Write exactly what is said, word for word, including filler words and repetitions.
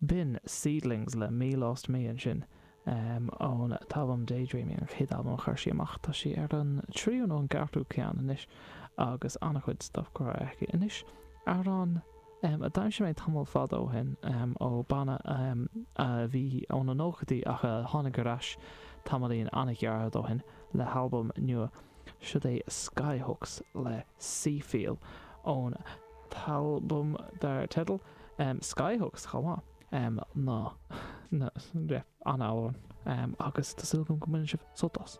B'in Seedlings le Me Lost Me ansin ón t-albam Daydreaming, an chéad albam a chuir sí amach. Tá sí ar an tríú nó an gceathrú ceann anois agus an-chuid stuff curtha aici. Anois, amhrán a d'aimsigh mé tamall fada ó shin ó banna a bhí ó na nóchaidí ach a tháinig ar ais tamaillín an-ghearr ó shin le halbam nua. Siod é Skyhooks le Seafeel ón t-albam dar teideal Skyhooks chomh maith. Ná, yeah, an-amhrán agus tá súil agam go mbaineann sibh sult as.